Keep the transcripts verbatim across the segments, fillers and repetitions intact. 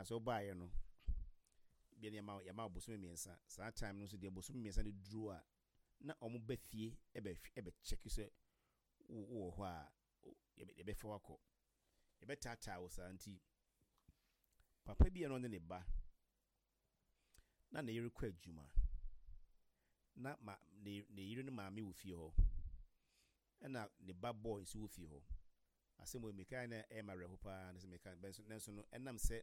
Sɛ wobaeɛ no bia ne yɛma yɛma wo bosome mmiɛnsa. Saa time no nso deɛ, bosome mmiɛnsa no duru a, na ɔmo ba fie ɛbɛ ɛbɛ check sɛ wo wowɔ hɔ a, yɛbɛfa wakɔ, yɛbɛtaataa wo saa. Nti papa bi a na ɔne ne ba na ne yere kɔ adwuma na ma ne ne yere no maame wɔ fie hɔ, ɛna ne ba boy nso wɔ fie hɔ. Asɛm wɔ mekae na ɛyɛ ma awerɛho paa ne sɛ meka bɛnso, nanso no ɛnam sɛ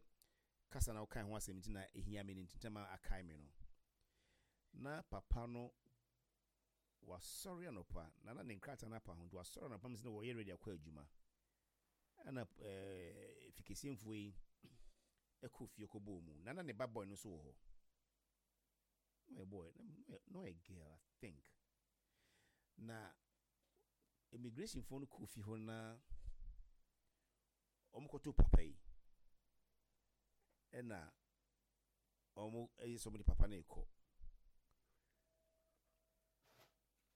kasa na wokae ho asɛm nti na ɛhia me no, nti ntɛm a akae me no. Na papa no wasɔre anɔpa na na ne nkrataa no apa ho, nti wasɔre anɔpa m sɛ na wɔyɛ ready akɔ adwuma, ɛna ɛɛ fikesiemfoɔ yi ɛkɔ fie kɔbɔɔ mu na na ne ba boy no nso wɔ hɔ. Na ɔyɛ boy na ɔyɛ girl, I think. Na immigration foɔ no kɔ fie hɔ na wɔn kɔto papa yi, ɛna wɔn ɛyɛ sɛ wɔn de papa no rekɔ.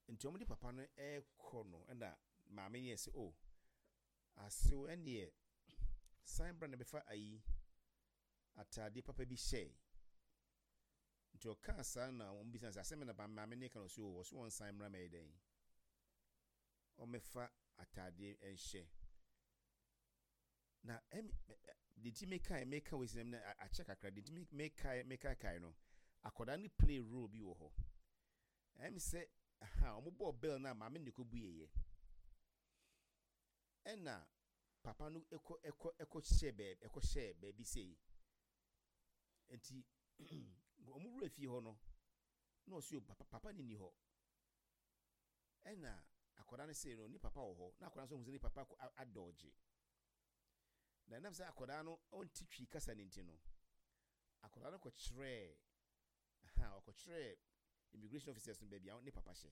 Nti wɔn de papa no ɛrekɔ no, ɛna maame yɛ sɛ, "O asew, ɛneɛ san bra na bɛfa ayi ataadeɛ papa bi hyɛɛ." Nti ɔkaa saa na wɔn bisa sɛ asɛm na maame ne ka no so wɔ so, wɔn san mmra mɛyɛ dɛn, wɔmɛfa ataadeɛ nhyɛ. Na ɛmi de ti meka meka wɔ sinam na akyɛ kakra de ti meka meka kae no, akwadaa no play role bi wɔ hɔ. Ɛmi sɛ aha wɔn bɔɔ bell na maame ne kɔ bue yɛ, ɛna papa no ɛkɔ ɛkɔ ɛkɔ hyɛ baabi ɛkɔ hyɛ baabi sei. Nti wɔn wura fie hɔ no na ɔsi o, papa papa ne ni hɔ. Ɛna akwadaa no sei no, ne papa wɔ hɔ, na akwadaa no nso hu sɛ ne papa adɔɔgye. Na ɛnam sɛ akwadaa no ɔnte Twi kasa ne nti no, akwadaa no kɔkyerɛɛ ha, ɔkɔkyerɛɛ immigration officers no baabi a ne papa hyɛ,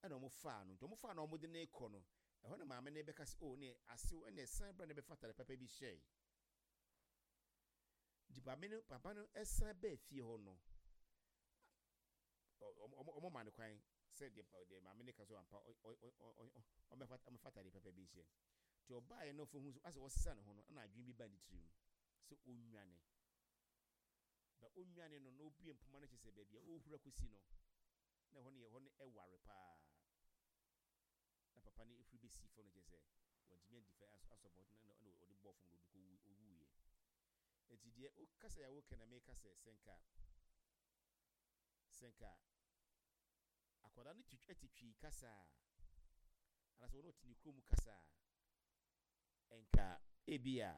ɛna wɔn faa no. Nti wɔn faa no, wɔn de ne kɔ no ɛhɔ na maame no bɛka sɛ, "O, ne asew, ɛna ɛsan bra na bɛfa atare papa bi hyɛɛ." Nti maame no, papa no ɛsan bɛɛ fie hɔ no, ɔmo ɔmo ma no kwan sɛ deɛ deɛ maame no ka so ampa, ɔmɛfa ɔmɛfa atare papa bi hyɛ. Nti ɔbaeɛ no, ɔfo hu so asɛ ɔsesa ne ho no, ɛna adwene bi ba ne tirim sɛ ɔnwane ba. Ɔnwane no na obue mpoma no, kyerɛ sɛ baabi a ɔrehura kɔsi no na ɛhɔ no yɛ hɔ no ɛware paa, na papa no efiri bɛsi fam no, kyerɛ sɛ wɔntumi andi fɛ asɔbɔ na na ɔde bɔɔ fam na ɔde kɔ owuiɛ. Nti deɛ ɔkasa yɛ awoka na meka sɛ sɛ nka sɛ nka akwadaa no te ɛte Twi kasa a, anaasɛ wɔn ɔte ne kurom kasa a, nka ebi a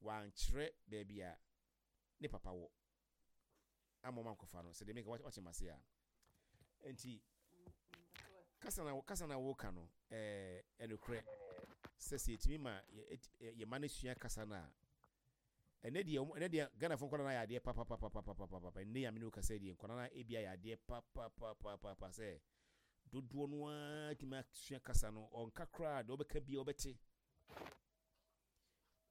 wankyerɛ baabi a ne papa wɔ ama ɔma nkɔfa no. Sɛdeɛ meka, wakyɛ ma se a, nti kasa na kasa na wɔka no, ɛɛ ɛnokorɛ sɛ sɛ yɛtumi ma yɛ yɛ ma no sua kasa no a, ɛnɛ deɛ ɛnɛ deɛ Ghanafoɔ nkwadaa no ayɛ adeɛ papapapapapapa. Ɛnɛ yɛ amene wo kasa deɛ, nkwadaa no ebi ayɛ adeɛ papapapapa sɛ dodoɔ no ara tumi asua kasa no. Ɔnka koraa deɛ, ɔbɛka bia ɔbɛte.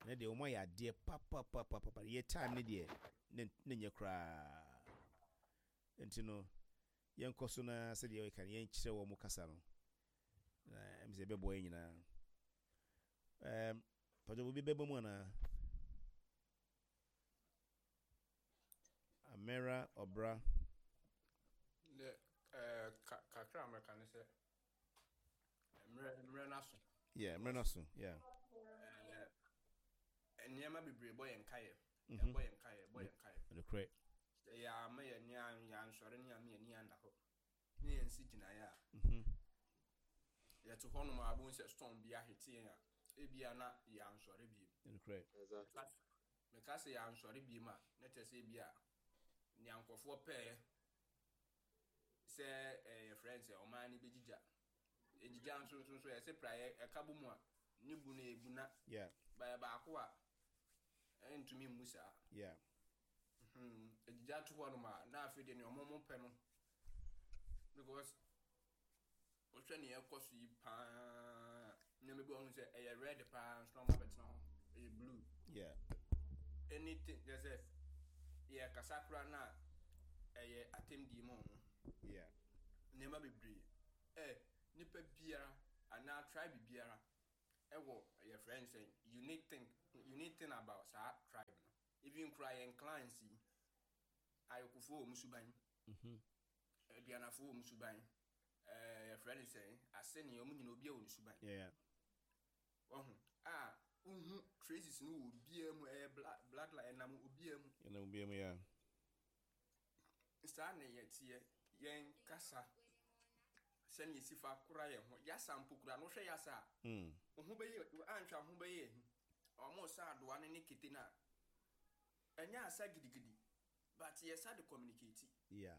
Ɛnɛ deɛ wɔn ayɛ adeɛ papapapapa. Yɛ time ne deɛ ne ne nyɛ koraa. Nti no yɛnkɔ so na sɛdeɛ yɛka no, yɛnkyerɛ wɔn kasa no na ɛm sɛ ɛbɛboa yɛn nyinaa. ɛɛm pàtó obi bɛbɔ mu anaa Amera ɔbra? De ɛɛ ka kakra a mɛka ne sɛ mmerɛ mmerɛ n'aso. Yeah, mmerɛ n'aso, yeah. Ɛɛ nneɛma bebree bɔ yɛn kaeɛ. Ɛbɔ yɛn kaeɛ, ɛbɔ yɛn kaeɛ. Nokorɛ. Sɛ yɛ ama yɛn ni yɛansɔre ne ama yɛn ni anda hɔ ne yɛn si gyinaeɛ a, yɛte hɔnom a, abom sɛ storm bi ahete yɛn a, ebia na yɛansɔre biem. Nokorɛ. Exactly. Meka sɛ yɛansɔre biem a, na kyerɛ sɛ ebia nea nkurɔfoɔ pɛɛ sɛ ɛyɛ yɛfrɛ no sɛ ɔman no bɛgyigya ɛgyigya nso nso nso yɛsɛ praeɛ ɛka bɔ mu a, ne bu no ɛbu na yeah bayɛ baako a ɛntumi mmu saa. yeah Hmm, ɛgyigya to hɔnom a, na afei deɛ nea ɔmo mo pɛ no, because wohwɛ nea ɛkɔ so yi paa, nneɛma bi wɔ ho sɛ ɛyɛ red paa nso na ɔmo abɛtena hɔ ɛyɛ blue. Yeah anything kyerɛ sɛ yɛkasa koraa na ɛyɛ atɛmdie ma ɔmo. Yeah nneɛma bebree ɛ nipa biara anaa tribe biara ɛwɔ yɛfrɛ no sɛ unique thing unique thing about saa tribe no. Even kora yɛn clans yi, Ayokofoɔ wɔ mu suban, Mhm. Aduanafoɔ wɔ mu suban, ɛɛ yɛfrɛ no sɛn, Asene, ɔmo nyina obi a wɔ ne suban. Yeah. Ɔho a wohu traces no wɔ obiara mu, ɛyɛ bla- bloodline ɛnam obiara mu. Ɛna obiara mu, yeah. Saa na yɛteɛ. Yɛn kasa, sɛnea yɛsi fa kora yɛn ho, yasa mpo kora no, wohwɛ yasa a, Mm. wo ho bɛyɛ, anhwɛ ho bɛyɛ ahi. Ɔmo sa adoa no ne kete no a, ɛnyɛ asa gidigidi, but yɛsa de communicate. Yeah.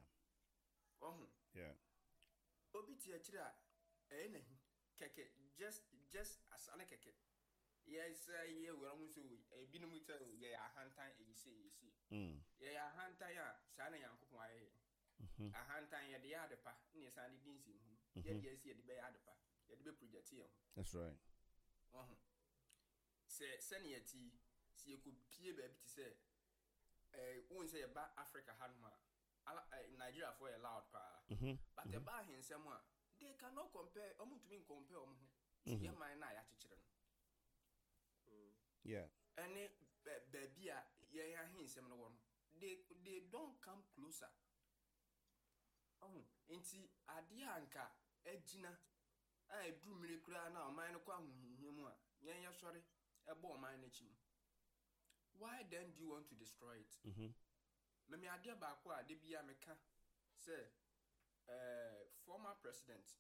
Ɔho Yeah. obi te akyire a, ɛyɛ n'ahi kɛkɛ, just just asa ne kɛkɛ. Yɛsɛ yɛ wura mu so, ebinom sɛ yɛyɛ ahantan, ɛyi se ɛyi se. Mm. Yɛyɛ ahantan a, saa na Nyankopɔn ayɛ yɛn. Mhm. Ahantan yɛde yɛ ade pa ne yɛsan de di nsɛmhunu. Yɛde yɛsi yɛde bɛyɛ ade pa, yɛde bɛ project yɛn ho. That's right. Ɔho sɛ sɛnea yɛte yi, sɛ yɛkɔpie baabi te sɛ ɛɛ wohu sɛ yɛba Africa hanom a, ala ɛɛ Nigeriafoɔ yɛ loud paa, Mhm. but ɛba ahensɛm a, they cannot compare. Ɔmo ntumi ncompare ɔmo ho to yɛ man no a yɛakyekyere no. Yeah. Ɛne bɛ- baabi a yɛn ahensɛm no wɔ no, they they don't come closer. Ɔho nti adeɛ a nka agyina a ɛduru mmiri koraa na ɔman no kɔ ahohiahia mu a, yɛn yɛsɔre ɛbɔ ɔman no akyi no, why then do you want to destroy it? Mhm. Mɛmi adeɛ baako a de bia meka sɛ ɛɛ former president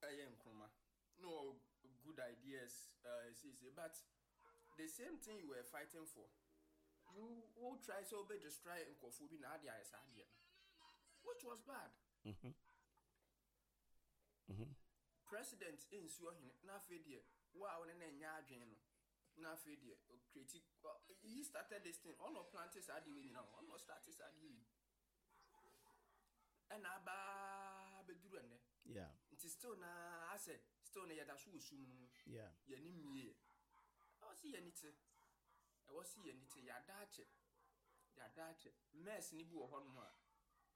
ɛyɛ Nkrumah no, good ideas ɛɛ seesei, but the same thing you were fighting for, you wo try sɛ wobɛ destroy nkurɔfoɔ bi na ade ayɛ saa adeɛ no, which was bad. Mhm. Mhm. President nsi ɔhene na afei deɛ wo a wo ne no nyɛ adwene no, na afei deɛ ɔcreate. He started this thing, ɔno plant saa adeɛ wei nyinaa, ɔno start saa adeɛ wei, ɛna abaa bɛduru ɛnnɛ. Yeah. Nti still na asɛ still na yɛda so wɔ sum no mu. Yeah. Yɛni mmie, ɛwɔ sɛ yɛni te, ɛwɔ sɛ yɛni te. Yɛada akyɛ, yɛada akyɛ. Mɛs ni bi wɔ hɔnom a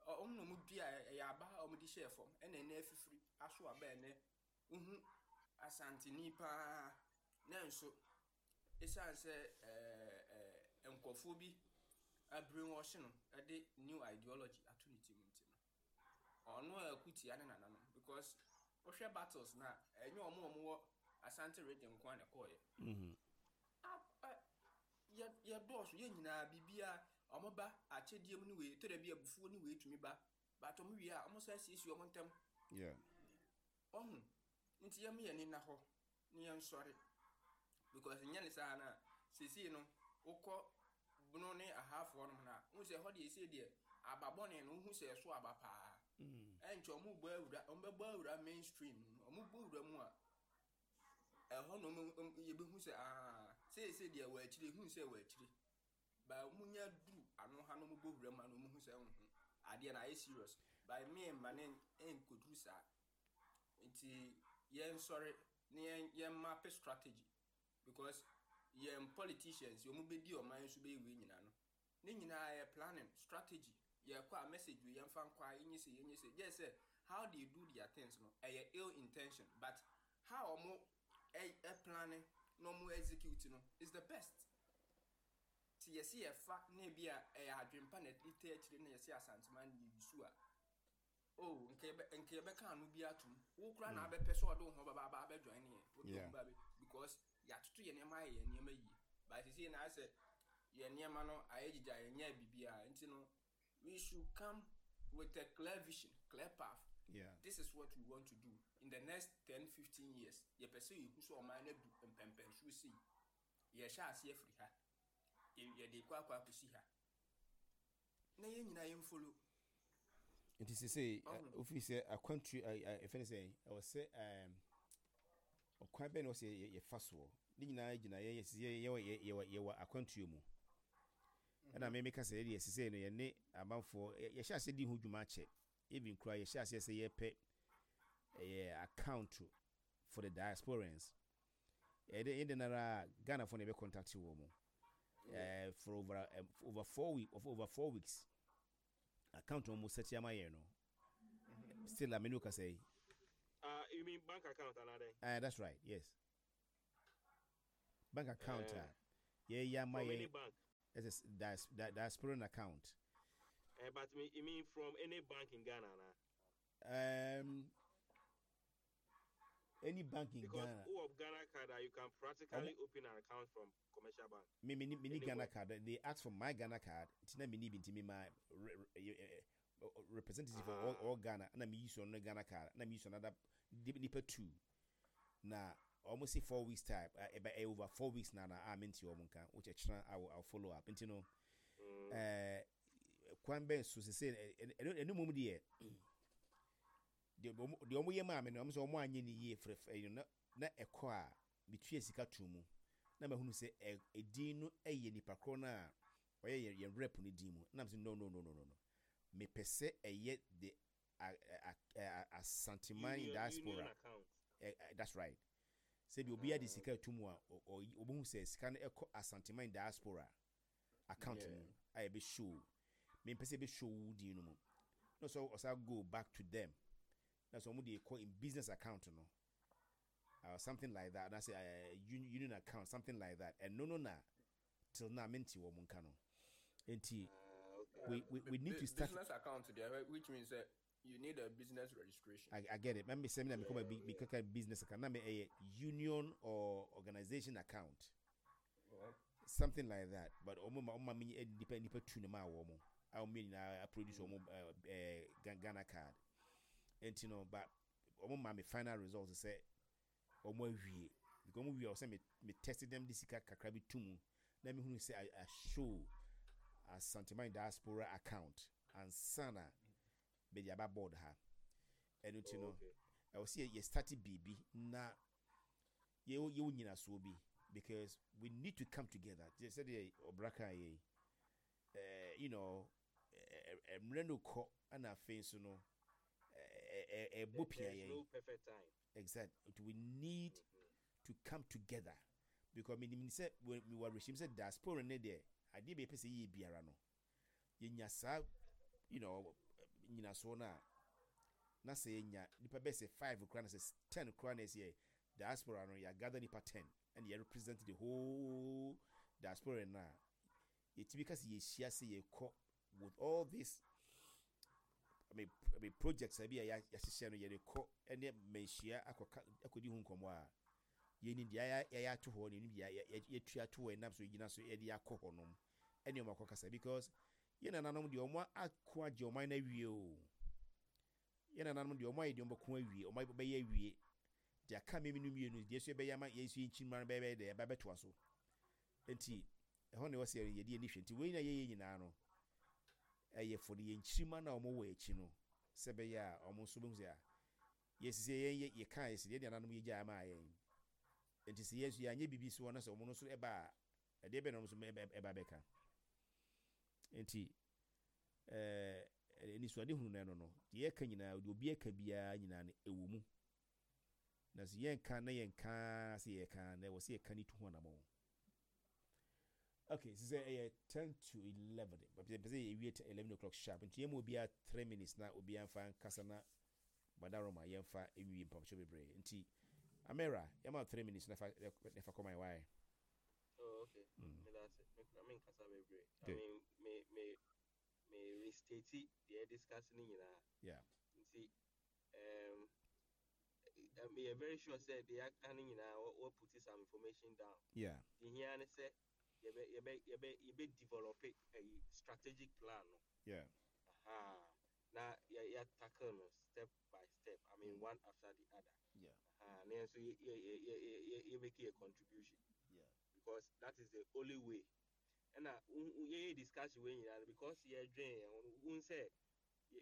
ɔ- ɔmo na ɔmo dua, ɛyɛ aba a ɔmo de hyɛɛ fam, ɛna ɛnɛ afifiri aso aba. Ɛnɛ wohu Asanteni paa na nso ɛsiane sɛ ɛɛ ɛɛ nkurɔfoɔ bi abrainwash no, ɛde new ideology ato ne ti mu, nti no ɔno a ɛko tia ne nananom, because wohwɛ battles na ɛnyɛ ɔmo a ɔmo wɔ Asante Region nko a na ɛkɔɔyɛ. Mhm. A- ɛ- yɛ yɛdɔɔso, yɛn nyinaa biribiara ɔmo ba akyɛdeɛ mu ne wei tɔrɔ bi, abufuo ne wei tumi ba, but ɔmo wie a, ɔmo san siesie ɔmo ntɛm. Yeah. Ɔho nti yɛn yɛn ni na hɔ ne yɛn sɔre, because nyɛ ne saa na seesei no wokɔ Bono ne Ahafoɔ nom na wohu sɛ ɛhɔ deɛ, seesei deɛ aba bɔne no, wohu sɛ ɛso aba paa. Mm. Ɛnkyɛ ɔmo bɔ awura, ɔmo bɛbɔ awura mainstream no, ɔmo bɔ awura mu a, ɛhɔ na ɔmo ɔmo- yɛbɛhu sɛ aa, seesei deɛ wɔ akyire, hu sɛ wɔ akyire ba, ɔmo nya duru ano ha na ɔmo bɔ wura mu a, na ɔmo hu sɛ ɔho adeɛ na ayɛ serious ba. Me mma ne nkɔduru saa, nti yɛn sɔre ne yɛn yɛn map strategy, because yɛn politicians, wɔn bɛdi ɔman nso bɛyɛ wei nyinaa no, ne nyinaa yɛ planning strategy. Yɛkɔ a, message wei yɛmfa nkɔ a, yɛnyɛ sɛ yɛnyɛ sɛ gye sɛ how they do their things no, ɛyɛ ill intention, but how ɔmo ɛ ɛ planning na ɔmo execute no is the best. Ti yɛsi yɛfa na ebi a ɛyɛ adwempa na ɛde tɛ akyire na yɛsi Asanteman na yɛyi so a, oh, nka yɛbɛ nka yɛbɛka ano bi atum wo kora na abɛpɛ sɛ ɔde wo ho bɛba aba abɛjoin ne yɛn. Yeah. Wode wo ba bɛ, because yɛatoto yɛn nneɛma, ayɛ yɛn nneɛma yie, but sisi na asɛ yɛn nneɛma no ayɛ gyigya, yɛnyɛ biribiara, nti no we should come with a clear vision, clear path. Yeah. This is what we want to do in the next ten fifteen years. Yɛpɛ sɛ yɛhu sɛ ɔman no adu mpɛmpɛnsoɔ sei, yɛhyɛ aseɛ firi ha, yɛ- yɛde kɔ akɔ akɔsi ha, na yɛn nyinaa yɛmfollow. Nti sesei Ɔho. wofii sɛ akwantu ɛfɛ ne sɛ ɛwɔ sɛ ɛm, ɔkwan bɛn na wɔ sɛ yɛ- yɛfa soɔ ne nyinaa gyina yɛ yɛ- yɛ- yɛwɔ yɛ- yɛwɔ yɛwɔ akwantuo mu, ɛna me meka sɛ yɛdeɛ sesei no yɛne amanfoɔ yɛ- yɛhyɛ aseɛ di ho dwuma akyɛ. Even koraa yɛhyɛ aseɛ sɛ yɛpɛ ɛyɛ account for the diasporans, yɛde yɛde nara Ghanafoɔ na yɛbɛ contact wɔ mu uh, for over um, for over four week of over four weeks account wɔn mo set ama yɛn no, still a menu kasa yi. Uh, you mean bank account another? Uh, that's right, yes, bank account Eh, a yɛyɛ ama From any yɛn bank. Ɛsɛ dias diasporan account. Uh, but me, you mean from any bank in Ghana, na? Um, any bank in Because Ghana. Who of Ghana card, uh, you can practically open an account from commercial bank. Me me me ni Ghana Anywhere. card. They ask for my Ghana card. Tina me ni bi nti me my re, re, eh, eh, representative for all, Ah. all Ghana. Na me use on Ghana card. Na me use another nipa two. Na almost say four weeks time. Uh, eh, over four weeks now. Na I'm into omo nka. Which I I will I'll follow up. Nti no. Mm. Eh, kwan bɛn so sɛ ɛno ɛno mom deɛ deɛ ɔmo deɛ ɔmo yɛ maa me no ɔmo sɛ ɔmo anyɛ ne yie frɛfrɛ ɛyi no na na ɛkɔ a metua sika to mu na mahunu sɛ ɛ edin no ɛyɛ nipa korɔ no a ɔyɛ yɛn yɛn rep no din mu na mo sɛ no no no no no no mepɛ sɛ ɛyɛ the a a a Asanteman Union, diaspora union account. ɛ ɛ that's right sɛbi obiara de sika to mu a ɔ ɔ ɔbɛhu sɛ sika no ɛkɔ Asanteman diaspora account Yeah. mu a yɛbɛ show mempɛ sɛ ɛbɛ show wo din no mu na sɛ ɔsa go back to them na sɛ ɔmo de kɔ in business account no uh, something like that and I say uh, union account something like that and no no na till now mente wɔ mo nka no nti Ah, okay. we, we, we need to start business account there, which means that you need a business registration. I, I get it. Let me say me become a big big business account. Na me a union or organization account. Something like that. But omo ma omo me nipa nipa two na ma wo mo. I mean na produce omo eh Ghana card. And you know but omo ma me final results say omo awie. Because omo wie o say me me test them this sika kakra bi tumu. Na me hunu say I, I show Asanteman diaspora account and sana be the aba board ha. ɛno nti no Oh, okay. ɛwɔ sɛ yɛ start biribi na yɛwɔ yɛwɔ nyinasoɔ bi because we need to come together te sɛdeɛ ɔbra kan yɛ yi ɛɛ you know ɛ ɛ mmerɛ no kɔ ɛna afei nso no ɛ ɛ ɛbɔ pia There's yɛn no perfect time. exactly we need to come together because menim sɛ wɔ mewɔ awerɛhyɛm sɛ diaspora ne deɛ adeɛ bɛyɛ pɛ sɛ yɛyɛ biara no yɛnya saa you know nyinasoɔ no a na sɛ yɛnya nipa bɛyɛ sɛ five koraa na sɛ ten koraa na ɛsɛ yɛ diaspora no yɛagather nipa ten ɛna yɛ represent the whole diaspora no a yɛtumi ka sɛ yɛhyia sɛ yɛkɔ with all this I mean, I mean projects a bi a yɛ- yɛahyehyɛ no yɛde kɔ ɛne manhyia akɔka akɔdi ho nkɔmmɔ a yɛnim deɛ yɛayɛ yɛayɛ ato hɔ na yɛnim deɛ yɛ- yɛ- yɛtua ato hɔ ɛnam so yɛgyina so yɛde akɔ hɔ nom ɛne ɔmo akɔkasa because yɛn nananom deɛ ɔmo ako agye ɔman no awie o yɛn nananom deɛ ɔmo ayɛ deɛ ɔmo bɛko awie ɔmo bɛyɛ awie deɛ aka mímu no mmienu deɛ so yɛbɛyɛ ama yɛn nso yɛn kyimma no bɛyɛ deɛ ɛba bɛtoa so nti ɛhɔ na ɛwɔ sɛ yɛde yɛn ani hwɛ nti wei na yɛyɛ nyinaa no ɛyɛ for de yɛn kyirima no a ɔmo wɔ akyi no sɛ ɛbɛyɛ a ɔmo nso bɛhu sɛ a yɛsisi yɛn yɛ yɛka yɛsi yɛn nananom yɛgya ama yɛn nti sɛ yɛn nso yɛanyɛ biribi so hɔ na sɛ ɔmo nso ɛba a ɛdeɛ bɛn na ɔmo nso ɛba ɛba bɛka nti ɛɛ anisoade hunu no ɛno no deɛ yɛka nyinaa deɛ obi ɛka biara nyinaa no ɛwɔ mu na sɛ yɛnka na yɛnka sɛ yɛka na ɛwɔ sɛ yɛka ne tu ho anammɔn okay sɛ sɛ ɛyɛ ten to eleven pɛ sɛ yɛwie eleven o'clock sharp nti yɛn mu obiara three minutes na obiara nfa nkasa na badaroma yɛmfa nwie mpamkyɛw bebree nti amera yɛma three minutes na fa na fa kɔma yɛ wae Oh, okay. Mm. Me that's it. Me me nkasa bebree. I Good. mean, me me me restate deɛ discuss ne nyinaa. yeah Nti um me um, very sure sɛ deɛ aka ne nyinaa wɔ wɔ put some information down. yeah Deɛ hia ne sɛ yɛbɛ yɛbɛ yɛbɛ yɛbɛ develop a strategic plan no. yeah Aha. Na yɛ yɛ tackle no step by step. I mean one after the other. yeah Aha. Na yɛn nso yɛ yɛ yɛ yɛ yɛ yɛ make a contribution. yeah because that is the only way ɛna yɛyɛ discussion wei nyinaa no because yɛdwen yɛn ho no wohu sɛ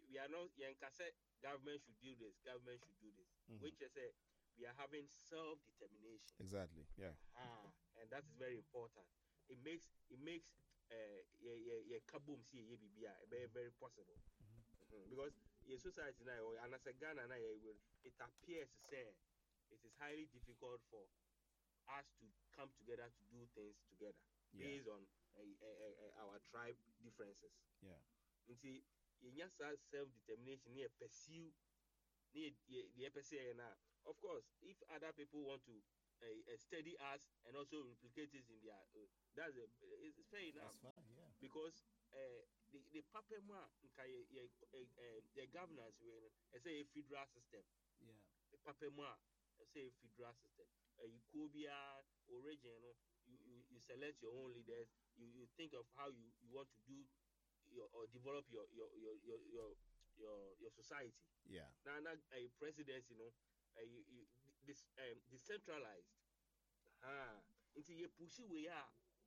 we are not yɛnka sɛ government should do this government should do this Mhm. which is sɛ we are having self determination exactly yeah ah and that is very important it makes it makes uh, yɛ yɛ yɛ ka bom si yɛyɛ biribi a ɛbɛyɛ very possible mm-hmm. because yɛ society na yɛwɔ anasɛ Ghana na yɛwɔ it appears sɛ it is highly difficult for us to come together to do things together yeah based on uh, uh, uh, our tribe differences. yeah Nti yɛnya saa self determination ne yɛ pursue ne yɛ yɛ deɛ yɛpɛ sɛ yɛyɛ no a of course if other people want to uh, uh, study us and also replicate it in their uh, that's a, it's, it's fair enough. that's fine Because uh, the the papa mu a nka yɛ yɛ ɛ yɛ governance wei no, ɛsɛ yɛ federal system. Yeah. The papa mu a ɛsɛ yɛ federal system. Ɛyi kuo biara origin no, you you you select your own leaders. You you think of how you you want to do your or develop your your your your your your, your society. Yeah. Na na a presidency no, uh, you, you, this um, decentralized. Ah, nti yɛ push wei a,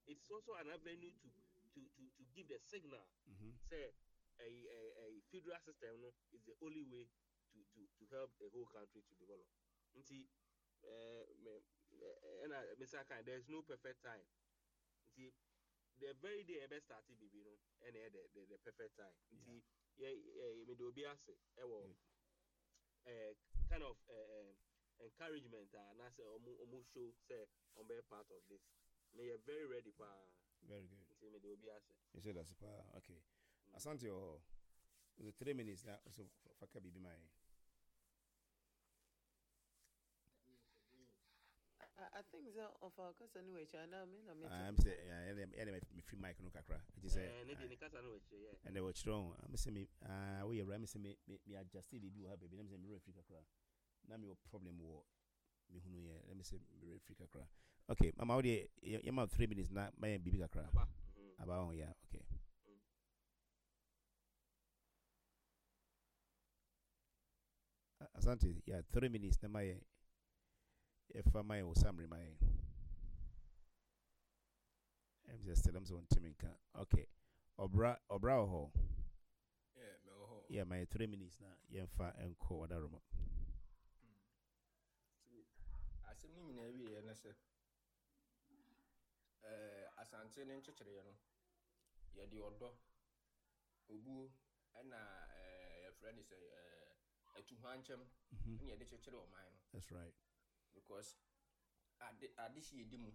it's also an avenue to to to to give the signal Mm-hmm. sɛ a a a federal system no is the only way to to to help the whole country to develop. Nti eh me ɛna Mister Kan, there is no perfect time. Nti the very day ɛbɛ start bibi no, ɛna ɛyɛ the the the perfect time. Nti yɛ yɛ me de obi ase ɛwɔ Good. eh, kind of eh, encouragement a anaasɛ ɔmo ɔmo show sɛ ɔmo bɛyɛ part of this. Me yɛ very ready paa. Very good. Nti me de obi ase. You said that's pa. Okay. Asante oh. Was it three minutes now? So faka bibi mai. I, I think so. Of our kasa no wechi ana me na me. I'm say yeah, yeah, me free mic no kakra. It is Eh, ne de ne kasa no wɔ akyire yɛ. And they were strong. I'm say me ah we are me say me me me adjust bibi wɔ ha baby. Let me say me free kakra. Na me wɔ problem wɔ me hunu yɛ. Let me say me free kakra. Okay, mama wo de ye ma three minutes na ma bibi kakra. Aba. Mhm. Aba on, yeah, okay. Mm. Asante, yeah, three minutes na ma yɛ ɛfa ma yɛ wɔ summary ma yɛ. Ɛm sɛ still I'm so ntimi nka. Okay. Ɔbra ɔbra wɔ hɔ. Yeah, mewɔ hɔ. Yeah, ma yɛ three minutes na yɛmfa nkɔ wadaroma. Nti asɛm no nyinaa wieɛ ne sɛ ɛɛ Asante ne nkyekyereɛ no, yɛde ɔdɔ, obuo, ɛna ɛɛ yɛfrɛ no sɛ ɛɛ atuhwankyɛm Mhm. ɛna yɛde kyekyere ɔman no. That's right. Because ade ade hyɛ yɛdi mu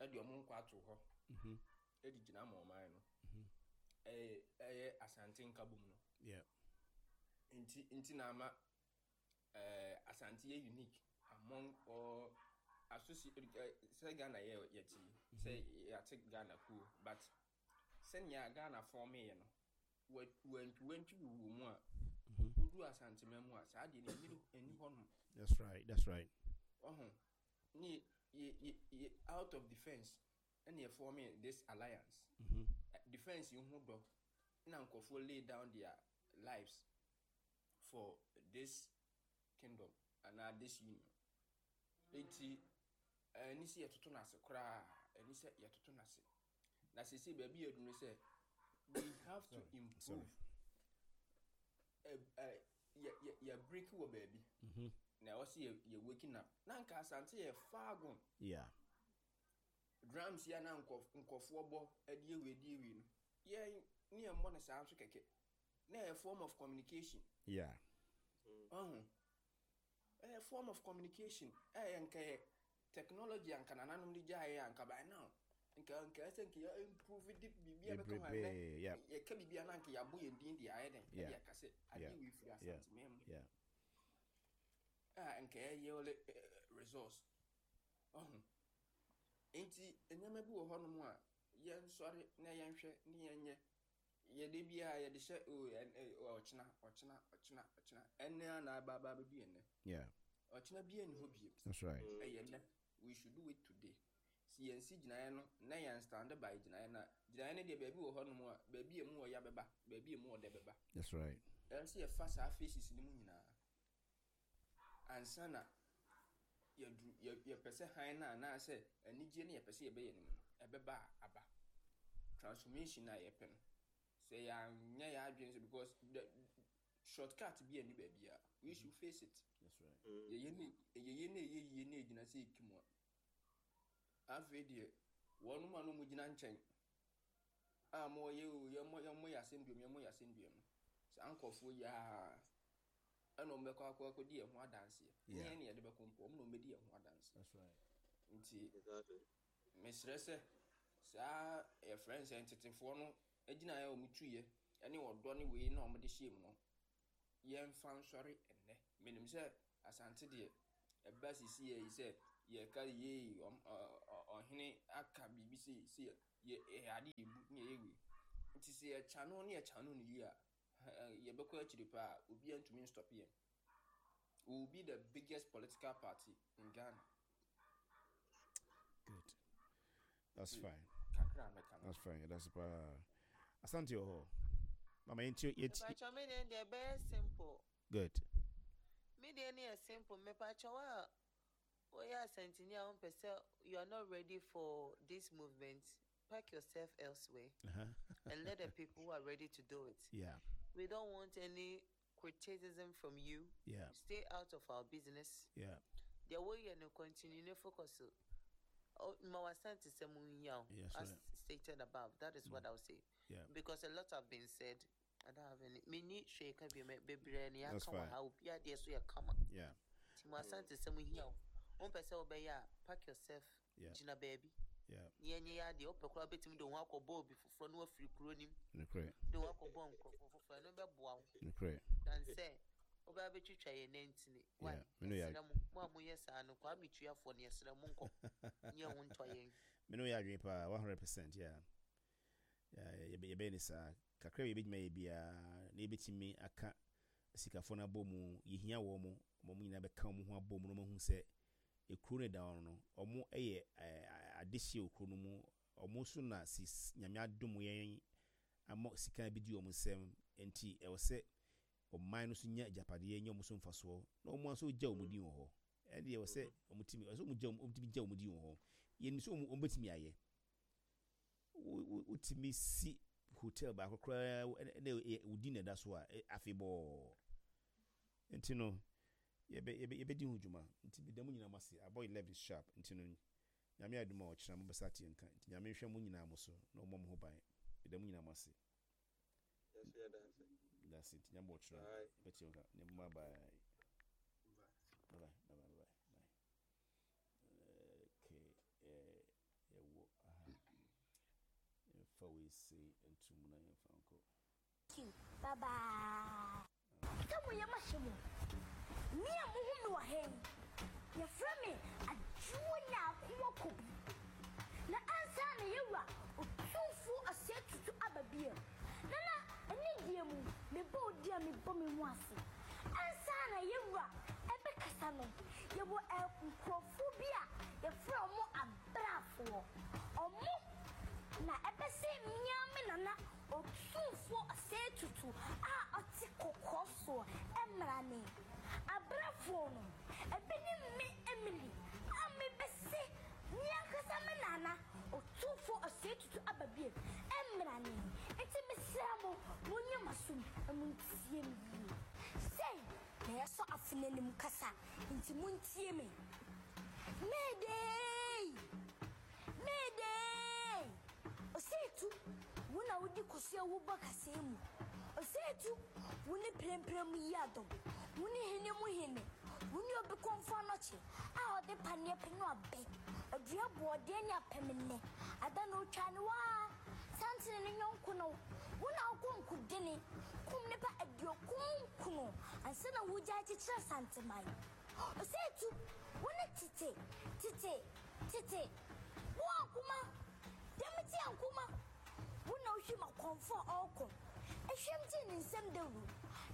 ɛde ɔmo nkɔ ato hɔ Mhm. ɛde gyina ama ɔman no. Mhm. ɛyɛ ɛyɛ Asante nkabom no. Yeah. nti nti na ama ɛɛ Asante yɛ unique among all associ ɛ sɛ Ghana yɛ yɛte yi, sɛ yɛate Ghana kuo, but sɛnea Ghana form yɛ no, wɔ wantwi wantwi wɔ mu a Mhm. wodu Asantema mu a, saa deɛ no ɛni ɛni hɔnom. That's right. That's right. Ɔho ne yɛ yɛ yɛ out of defence ɛna yɛ form this alliance. Mhm. Eh, defence yi ho dɔ na nkurɔfoɔ lay down their lives for this kingdom anaa this union. Nti ɛni sɛ yɛtoto n'ase koraa, ɛni sɛ yɛtoto n'ase na sese baabi yɛ dunu sɛ we have to improve. Sorry. Ɛ ɛ yɛ yɛ yɛ break wɔ baabi Mhm. na ɛwɔ sɛ yɛ yɛ waking up na nka Asante yɛ far gone. Yeah. Drums yi a na nkɔf nkɔfoɔ bɔ ɛde ewie ɛde ewie no, yɛn ne yɛn mmɔ no saa nso kɛkɛ na ɛyɛ form of communication. Yeah. Ɔho ɛyɛ form of communication. Ɛyɛ nka yɛ technology a nka nananom de gyaeɛ a nka by now nka nka ɛsɛ nka yɛ improve de biribi a bɛka ho a Bebrebe, ɛnɛ yeah. yɛka biribi a na nka yɛabɔ yɛn din de ayɛ dɛn Yeah. ɛde aka sɛ adeɛ Yeah. wei firi Yeah. Asanteman mu Yeah. a nka ɛyɛ ɔle resource. Ɔho nti nneɛma bi wɔ hɔnom a yɛnsɔre na yɛnhwɛ ne yɛnyɛ yɛde biara yɛde hyɛ o ɛ ɛ ɔkyena ɔkyena ɔkyena ɔkyena ɛnɛ a na aba aba abɛdu ɛnɛ. Yeah. Ɔkyena biara ni hɔ bio. That's right. Ɛyɛ nnɛ, we should do it today. Si yɛn si gyinaeɛ no na yɛn stand by gyinaeɛ no a, gyinaeɛ no deɛ, baabi wɔ hɔnom a baabi emu wɔ ya bɛba, baabi emu wɔ dɛ bɛba. That's right. Ɛn sɛ yɛfa saa phases no mu nyinaa ansa na yɛduru yɛ yɛpɛ sɛ han no anaasɛ anigye no yɛpɛ sɛ yɛbɛyɛ no mu no ɛbɛba a aba transformation a yɛpɛ no sɛ yɛanyɛ yɛ adwene sɛ because the shortcut bi ani baabi a we should face it. That's right. Yɛyɛ ne yɛyɛ ne ɛyɛ yie ne ɛgyina sɛ ɛki mu a, afei deɛ wɔnom a no mu gyina nkyɛn a mo yɛ o yɛmmɔ yɛmmɔ yɛ asɛnduam yɛmmɔ yɛ asɛnduam no, saa nkɔfoɔ yi a ɛna ɔmo bɛkɔ akɔ akɔdi yɛn ho adanseɛ ne Yeah. yɛn ne yɛde bɛkɔ mpo, ɔmo na ɔmo bɛdi yɛn ho adanseɛ. That's right. Nti Exactly. mesrɛ sɛ saa yɛfrɛ no sɛ ntetefoɔ no agyinaeɛ a ɔmo tuyɛ ɛne ɔdɔ ne wei na ɔmo de hyɛ mu no, yɛmfa nsɔre ɛnnɛ. Menim sɛ Asante deɛ ɛba sisi yɛ yi sɛ Yɛka yee ɔhene aka biribi sei sei yɛ ɛyɛ ade yɛbu ne yɛyɛ wei. Nti sɛ yɛkyano ne yɛkyano no yie a, yɛbɛkɔ akyiri paa, obiara ntumi nstop yɛn. We will be the biggest political party in Ghana. Good. That's fine. Kakra mɛka no. That's fine. That's paa. Asante wɔ hɔ. Mama yɛnti yɛnti. Mepakyɛw me deɛ deɛ ɛbɛyɛ simple. Good. Me deɛ ne yɛ simple. Mepakyɛw a woyɛ Asantini a wompɛ sɛ you are not ready for this movement, pack yourself elsewhere Uh-huh. and let the people who are ready to do it. Yeah. We don't want any criticism from you. Yeah. Stay out of our business. Yeah. Deɛ woyɛ no continue ne focus. Oh, ma wasante sɛ mo nhia wo. Yes, As right. stated above, that is what I would say. Yeah. Because a lot have been said. I don't have any. Menni hwee ka bio, bebree ne That's aka wɔ fine. ha. Obi adeɛ so yɛ kama. Yeah. Nti mo asante sɛ mo hia wo. Wompɛ sɛ wobɛyɛ a, pack yourself. Yeah. Gyina baabi. Yeah. Ne yɛnyɛ yɛ adeɛ. Wopɛ koraa wobɛtumi de wo ho akɔbɔ obi foforɔ na wafiri kuro nim. Nokorɛ. De wo ho akɔbɔ nkurɔfoɔ foforɔ. Ɛno bɛboa wo. Nokorɛ. Dan sɛ wobɛba bɛtwitwa yɛn nantini. Why? Yeah. Me no yɛ Yɛsrɛ mo. Mo a moyɛ saa no, Kwame Tuafoɔ no yɛsrɛ mo nkɔ. Nyɛ ho ntɔ yɛn. Me no yɛ adwene paa one hundred percent. Yeah. Yeah. Yɛbɛ yɛbɛyɛ ne saa. Kakra bi yɛbɛgyina yɛ biara na yɛbɛtumi aka sikafoɔ no abɔ mu. Yɛhia wɔn mo. Wɔn nyinaa bɛka wɔn ho abɔ mu na wɔn ahu sɛ ekuro no da hɔ no, wɔn yɛ ɛɛ adehyeɛ wɔ kuro no mu. Wɔn nso na si Nyame adom yɛn ama sika bi di wɔn nsam, nti ɛwɔ sɛ ɔman no nso nya agyapadeɛ, nya wɔn so mfasoɔ na wɔn nso gya wɔn din wɔ hɔ. Ɛdeɛ ɛwɔ sɛ wɔn tumi, ɛwɔ sɛ wɔn gya wɔn tumi gya wɔn din wɔ hɔ. Yɛn nso wɔn bɛtumi ayɛ. Wo wo wotumi si hotel baako koraa ɛna ɛyɛ wo din na ɛda so a, afebɔɔ. Nti no yɛbɛ yɛbɛ yɛbɛdi ho dwuma. Nti meda mo nyinaa mo ase. Abɔ eleven sharp. Nti no Nyame adom a ɔkyena mobɛsa ate nka. Nti Nyame nhwɛ mo nyinaa mo so na ɔmmɔ mo ho ban. Meda mo nyinaa mo ase. Yes, yeah, that's it. That's it. Nyame ɔkyena Bye. yɛbɛte nka. Ne bye bye. Bye bye bye bye bye bye. Okay. Eh, yɛwɔ aha. Yɛmfa wei sei ntom na yɛmfa nkɔ. Bye bye. Sɛ mo yɛ mahyɛ mu. Me a mohu me wɔ ha yi, yɛfrɛ me Adwoa Nyaakoa Kobi. Na ansa na yɛwura Otumfuo Ɔsɛe Tutu aba bio. Nana, ɛne deɛ mu, mebɔ odi a mebɔ me ho ase. Ansa na yɛwura ɛbɛkasa no, yɛwɔ nkurɔfoɔ bi a yɛfrɛ ɔmo abraafoɔ. Ɔmo na ɛbɛsɛ mmea me nana Otumfuo Ɔsɛe Tutu a ɔte kɔkɔɔ soɔ ɛmmra ne. Abraafoɔ no, ebi ne me Emily a mebɛsɛ me ankasa me nana Otumfuo Ɔsɛe Tutu aba bio ɛmmra ne. Nti mesrɛ mo, monyɛ m'asom na montie me yie. Sei na yɛsɔ afe n'anim kasa, nti montie me. Mayday! Mayday! Ɔsɛetu, wo na wodi kɔsi a wobɔ kasɛɛ mu. Ɔsɛetu, wo ne prɛmprɛ mu yi adɔm. Wo ne hene mu hene. Wo ne obi kɔmfo anɔkye a ɔde paneɛ pɛ no abɛ. Ɔdua boɔdeɛ ne apɛmennɛ. Ada na otwa ne waa. Santene ne nyɔnko no. Wo na wokɔ nkodene. Kum nipa aduokun nkron ansa na wogya akyekyere Asanteman. Ɔsɛetu, wo ne tete, tete, tete. Wo akoma, dɛm ti ankoma. Wo na wohwɛ ma kɔmfo a ɔrekɔ. Ehwɛm gye ne nsɛm dawuro.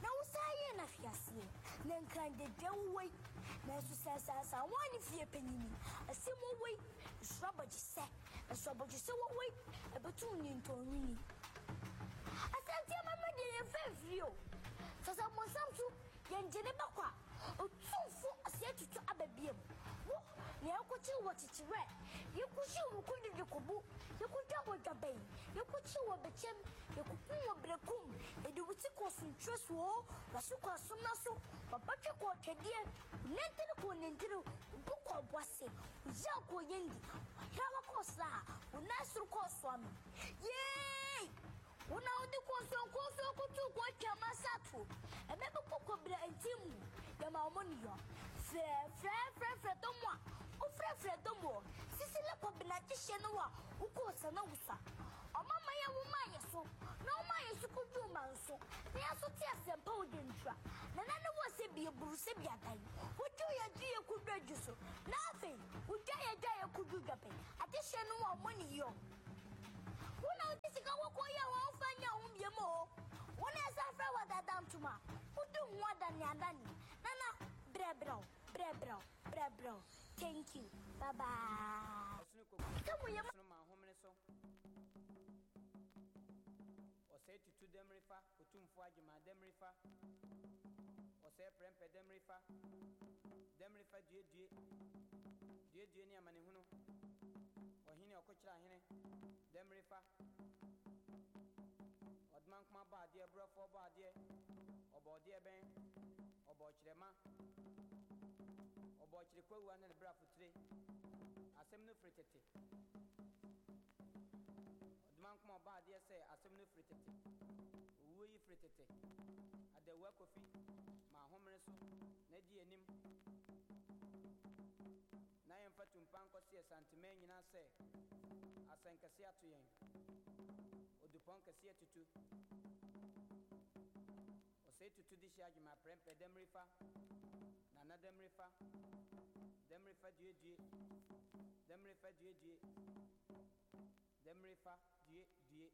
Na wo saa yɛ na hweaseɛ. Na nkran dede wowɔ yi. Nanso sɛ asasa wɔn ne fie panyini. Asɛm wɔwɔ yi. Nsoro abɔgyesɛ. Nso abɔgyesɛ wɔwɔ yi. Ɛbɛtum ne ntɔnwini. Asante amama deɛ yɛmfa mfiri o. Sɛ sɛ mmɔnsam so yɛngye ne bɛkɔ a, Otumfo Ɔsɛe Tutu aba biam. Wo na yɛkɔkye wɔ kyekyerɛ. Yɛkɔhye wɔ kɔdidi kɔbo. Yɛkɔdwa wɔ dwabɛn. Yɛkɔkye wɔ bɛkyɛm. Yɛkɔkum wɔ berekum. Yɛde wo ti kɔ sontwerɛ soɔ. Waso kɔ asomna so. Wabatwe kɔ twɛdeɛ. Nantene kɔ nantene. Wo kɔ ɔboase. Wo yaw kɔ yɛndi. Wahrawa kɔ sraa. Wo nan soro kɔ soame. Yee! Wo na wode kɔnsɔnkɔnsɔn koto kɔ atwa masato. Ɛbɛbɛkɔ kɔbra nti mu. Yɛma ɔmo ne yɔ. Frɛ frɛ frɛ frɛ dɔm a wofrɛfrɛ dɔm wɔ. Sisi le kɔbena gyehyɛ no a wokɔɔ sana wusa. Ɔmama yɛ wo maa yɛ so. Na wo maa yɛ so kodu ma nso. Na yɛ so te asɛmpa wo de ntura. Nana ne wɔ sɛ bi eburu sɛ bi adan. Wodwo yɛ du yɛ kudu adwu so na afei wodwa yɛ dwa yɛ kudu dwapɛ adehyɛ no wɔ ɔmo ne yɔ. Wo na wode sika kɔkɔɔ yi a wɔmfa nyɛ wo biam o. Wo na ɛsɛ frɛ wɔ dada ntoma. Wodi ho adane adane. Nana brɛbrɛw brɛbrɛw brɛbrɛw. Thank you. Bye bye. Ɛsono kokoɔ Sɛ mo yɛ ɛsono ma ahomene so. Ɔsɛe tutu dɛmrefa otumfoɔ agyema dɛmrefa. Ɔsɛe prɛmpɛ dɛmrefa. Dɛmrefa duedue. Duedue ne amanehunu. Ɔhene ɔkokyerɛ ahene. Dɛmrefa. Ɔdoma nkoma bɔ adeɛ borɔfoɔ bɔ adeɛ. Ɔbɔ ɔdeɛ bɛn. Ɔbɔ ɔkyerɛma. Ɔbɔ ɔkyere kwawua ne ne brafotire. Asɛm no firi tete. Ɔdoma nkoma ɔbɔ adeɛ sɛ asɛm no firi tete. Owuo yi firi tete. Adawua kofi ma ahomene so na di anim. Na yɛmfa tumpa nkɔsi Asanteman nyinaa sɛ asɛnkɛseɛ ato yɛn. Odupɔn kɛseɛ tutu. Ɔsɛe tutu de hyɛ adwuma prɛmpɛ dɛmrefa. Nana dɛmrefa. Dɛmrefa duedue. Dɛmrefa duedue. Dɛmrefa due due.